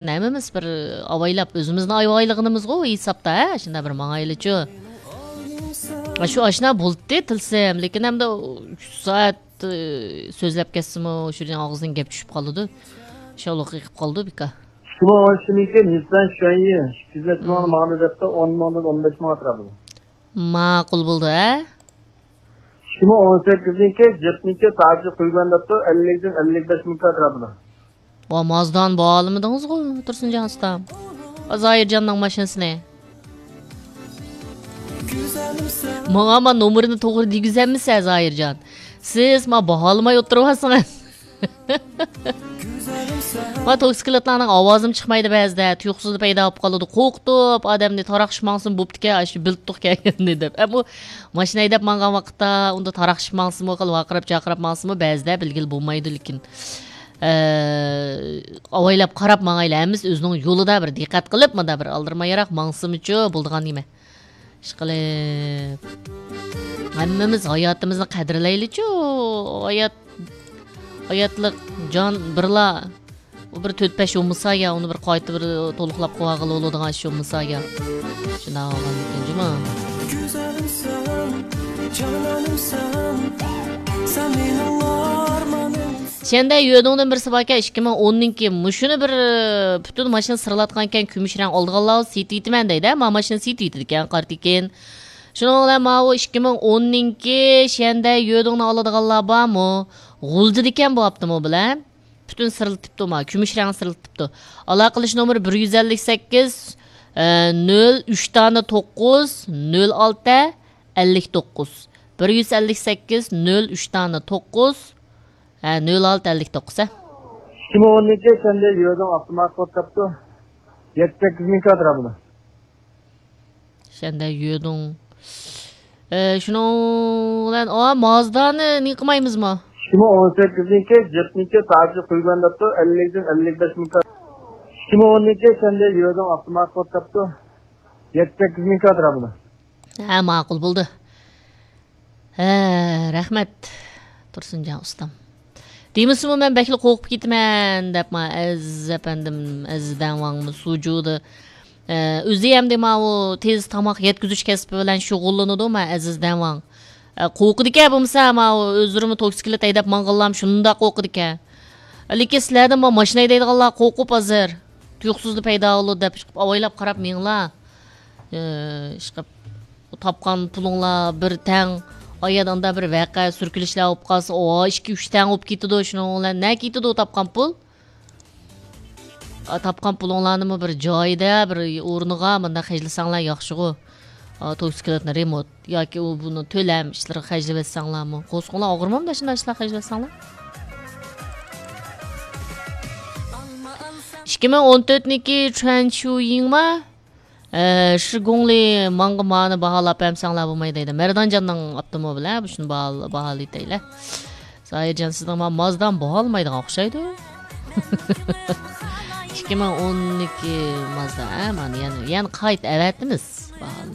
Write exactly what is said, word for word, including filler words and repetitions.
ھەممىمىز بىر ئاۋايلاپ، ئۆزىمىزنى ئاۋايلىغىنىمىزغۇ ھېسابتا، ھە؟ شۇنداق بىر ماڭايلىچۇ. شۇ ئاشنا بولدى تىلسىم، لېكىن ئەمدى ئۈچ سائەت، ئى، سۆزلەپ كەتسىمۇ، شۇ ئاغزىدىن گەپ چۈشۈپ قالىدۇ. شاۋلۇق قېقىپ قالىدۇ، بىكار. شۇڭا ئون ئىككى نىسسان شۈەنيى ئىككى يۈز نەچچە مىڭ ماڭدى دەپتۇ، ئون مىڭدىن ئون بەش مىڭغا ئەتراپىدا. ماقۇل بولدى، ھە؟ شۇمۇ ئون سەككىزنىڭكى، جىپنىڭكى تاجى قويغان دەپتۇ، ئەللىكتىن ئەللىك بەش مىڭ ئەتراپىدا. ۋا، مازدانى باھالىمىدىڭىزغۇ، تۇرسۇنجان ئۇستام؟ زاھىرجاننىڭ ماشىنىسىنى. ماڭا ما نومۇرىنى توغرا دېگۈزەممىسە، زاھىرجان؟ سىز ما باھالىماي ئولتۇرۇۋالسىڭىز. ما توكسىكلىتلارنىڭ ئاۋازىمۇ چىقمايدۇ بەزىدە، تۇيۇقسىزلا پەيدا بولۇپ قالىدۇ. قورقۇتۇپ ئادەمنى تاراقشىپ ماڭسىمۇ بوپتىكەن، ئاشۇ بىلتۇق كەلگەننى دەپ. ئە، بۇ ماشىنا ھەيدەپ ماڭغان ۋاقىتتا ئۇندا تاراقشىپ ماڭسىمۇ، خېلى ۋارقىراپ جارقىراپ ماڭسىمۇ، بەزىدە بىلگىلى بولمايدۇ، لېكىن، ئە، ئاۋايلاپ قاراپ ماڭايلى. ھەممىسى ئۆزىنىڭ يولىدا بىر دىققەت قىلىپ، مۇندا بىر ئالدىرىمايراق ماڭسىمۇچۇ بولىدىغان نېمە. ئىشقىلىپ، ھەممىمىز ھاياتىمىزنى قەدىرلەيلىچۇ. ھايات، ھاياتلىق جان بىرلا. ئۇ بىر تۆت-بەش يومىسا يا، ئۇنى بىر قايتا بىر تولۇقلاپ قويغىلى بولىدىغان ئىش يومىسا يا. شۇنداق بولغاندىكىن جۇما. گۈزەلىمسەن، جانانىمسەن، سەن مېنىڭ ئارمانىم. شەندە يۆدۇڭدىن بىرسى باركەن، ئىككى مىڭ ئوننىڭكى. مۇشۇنى بىر، ئى، پۈتۈن ماشىنا سىرلاتقانكەن، كۈمۈش رەڭ ئالىدىغانلار سېتىۋېتىمەن دەيدۇ. ما ماشىنا سېتىۋېتىدىكەن، قارا تېكىن. شۇنىڭ بىلەن ماۋۇ ئىككى مىڭ ئوننىڭكى شەندە يۆدۇڭنى ئالىدىغانلار بارمۇ؟ غۇلجىدىكەن بۇ ئاپتوموبىل، ھە؟ پۈتۈن سىرلىتىپتۇ ما، كۈمۈش رەڭ سىرلىتىپتۇ. ئالاقىلىشىش نومۇرى بىر يۈز ئەللىك سەككىز، ئە، نۆل ئۈچ دانە توققۇز، نۆل ئالتە، ئەللىك توققۇز. بىر يۈز ئەللىك سەككىز، نۆل ئۈچ دانە توققۇز، ھە، نۆل ئالتە ئەللىك توققۇز، ھە. ئىككى مىڭ ئوننىڭكى شەندە يۆدۇڭ ئاپتومات قوتاپتۇ. يەتتە سەككىز مىڭ ئەتراپىدا. شەندە يۆدۇڭ. ئە، شۇنىڭ بىلەن، ئا، مازدانى نېمە قىلمايمىزمۇ؟ ئىككى مىڭ ئون سەككىزنىڭكى، جىپنىڭكى تاجى قويغان دەپتۇ، ئەللىكتىن ئەللىك بەش مىڭ. ئىككى مىڭ ئوننىڭكى شەندە يۆدۇڭ ئاپتومات قوتاپتۇ. يەتتە سەككىز مىڭ ئەتراپىدا. ھە، ماقۇل بولدى. ھە، رەھمەت، تۇرسۇنجان ئۇستام. دېمىسىمۇ مەن بەكلا قورقۇپ كېتىمەن دەپ، ما، ئەزىز ئەپەندىم، ئەزىز دەڭۋاڭمۇ سۇجۇدا. ئە، ئۆزى ئەمدى ماۋۇ تېز تاماق يەتكۈزۈش كەسپى بىلەن شۇغۇللىنىدۇ، ما، ئەزىز دەڭۋاڭ. ئە، قورقىدىكەن بولمىسا، ماۋۇ ئۆزلىرىمۇ توكسىكلىت ھەيدەپ ماڭغانلارمۇ شۇنداق قورقىدىكەن. لېكىن سىلەردىن ما ماشىنا ھەيدەيدىغانلار قورقۇپ ھازىر. تۇيۇقسىزلا پەيدا بولىدۇ دەپ ئىشقىلىپ ئاۋايلاپ قاراپ مېڭىڭلار. ئىشقىلىپ تاپقان پۇلۇڭلار بىر تەڭ، ئايەردە ئاندا بىر ۋەقە، سۈركىلىشلەر بولۇپ قالسا، ئو، ئىككى، ئۈچ تەڭ بولۇپ كېتىدۇ. شۇنىڭ بىلەن نە كېتىدۇ تاپقان پۇل؟ ئا، تاپقان پۇلۇڭلارنىمۇ بىر جايىدا، بىر ئورنىغا مۇنداق خەجلىسەڭلار ياخشىغۇ. ئا، توكسىكلىتنى رېمونت ياكى ئۇ بۇنى تۆلەم ئىشلىرىغا خەجلىۋەتسەڭلارمۇ. قورسىقىڭلار ئاغرىمامدۇ شۇنداق ئىشلار خەجلەتسەڭلار؟ ئىككى مىڭ ئون تۆتنىڭكى چۈەن شۇيىڭما؟ ئە، شىگۇڭلى ماڭغا مانى باھالاپ بەرمىسەڭلار بولماي دەيدۇ. مەردانجاننىڭ ئاپتوموبىلى، ھە، بۇ شۇنى باھال-، باھالىتەيلى. زاھىرجان، سىزنىڭ ما مازدان باھالىمايدىغان ئوخشايدۇ. ئىككى مىڭ ئوننىڭكى مازدا، ھە، مانا يەنە، يەنە قايتا ئەۋەتىمىز. باھالىماي.